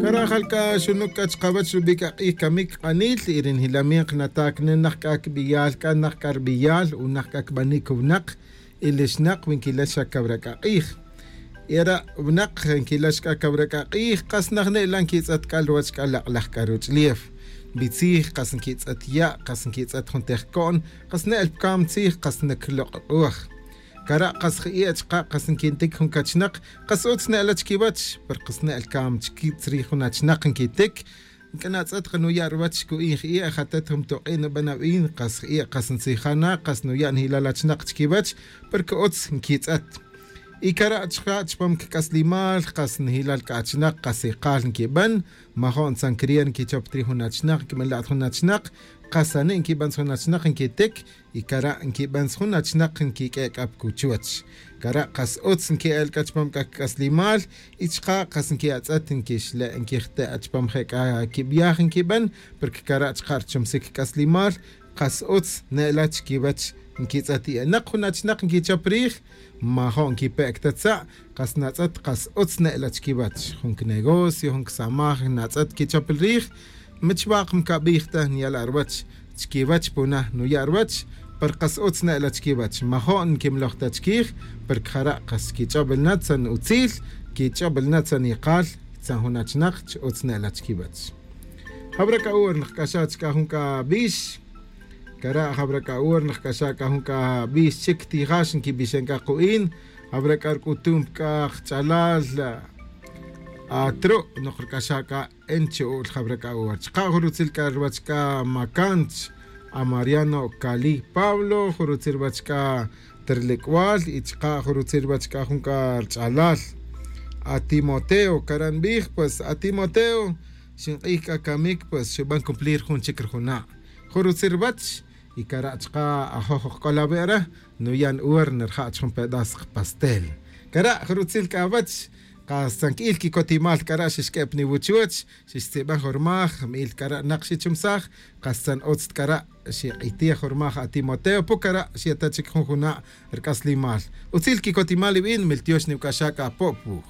Karajal k'a xunuk k'a chqawäch rub'i' k'a q'ij kamik q'anil y ri njilamin qnataj naq k'a kb'iyal k'a naq k'a rb'iyal u naq k'a kb'anik wnaq y lixnaq winkilex xa kawrak'a q'ij. Era wnaq nkilex k'a kawrak'a q'ij qas naq ne'la nkitz'ët k'a ruwäch k'a laq'laj k'a ruch'lief. B'itzij qas nkitz'ët ya' qas nkitz'ët jun tejko'n qas ne'el pkam tzij qas nakloq'uj. Kara' qas ji'e chqa qas nkintik jun kachnaq qas utz ne'la chkiwach per qas ne'el kam chkitzrij jun achnaq nkitik nk'anatz'ët qanuya' ruwach ku'in ji'e jatet jun toq'in nub'an ab'in qas ji'e qas ntzijana qas nuya' njilal achnaq chkiwach porque utz nkitz'ët. Y kara' chqa chpam kk'aslimal qas njilal k'achnaq qas iqal nkib'an majo'n tzankrier nkichop trij jun achnaq nkib'an jun achnaq qasani nkib'an jun achnaq nkitik y kara' nkib'an jun achnaq nkik'e k'ap kuchuwach. Kara' qas utz nki'el k'a chpam k'a kk'aslimal y chqa qas nki'atz'ët nkixle' nkijte' chpam je' k'a kib'yaj nkib'an porque kara' chqa rchomsik k'aslimal qas utz ne'la chkiwach nkitz'ët i'naq jun achnaq nkichop riij majo'n nkipe'k ta tza' qas natz'ët qas utz ne'la chkiwach jun knegocio jun ksamaj natz'ët kichop riij michwaq mkab'ij ta nyala ruwach chkiwach puna nuya' ruwach per qas utz ne'la chkiwach majo'n nkimloj ta chkij per kjara' qas kich'ob'el na tzan utzil kich'ob'el na tzan iqal tzan jun achnaq ch utz ne'la chkiwach. Jabra k'a'ur naq k'axa chk'a jun k'a b'ix kara' jabra k'a'ur naq k'axa k'a jun k'a b'ix chik tijax nkib'ixen k'a qu'in jabra k'a rk'utum k'a qch'alal atro' noq rk'axa k'a enchu'ul jabra k'a'ur chqa jurutzil k'a ruwach k'a makanch a Mariano Cali Pablo jurutzil ruwach k'a terlek'wal y chqa jurutzil ruwach k'a jun k'a rch'alal a Timoteo karanb'ij pues a Timoteo xinq'ij k'a kamik pues xub'an cumplir jun chik rjuna' jurutzil ruwach y kara' chqa ajoj k'olabe'ra nuyan uwer nirja'ch jun pedazo pastel kara' jurutzil k'a wach qas tzank'il kikotimal kara' xixk'ep niwuchuch xixtzib'an jurmaj mi'il kara' naq xichumsaj qas tzan utz kara' xiq'itij jurmaj a Timoteo pukara' xieta chik jun juna' rk'aslimal utzil kikotimal ib'in miltyox niwk'axa k'a popwuj.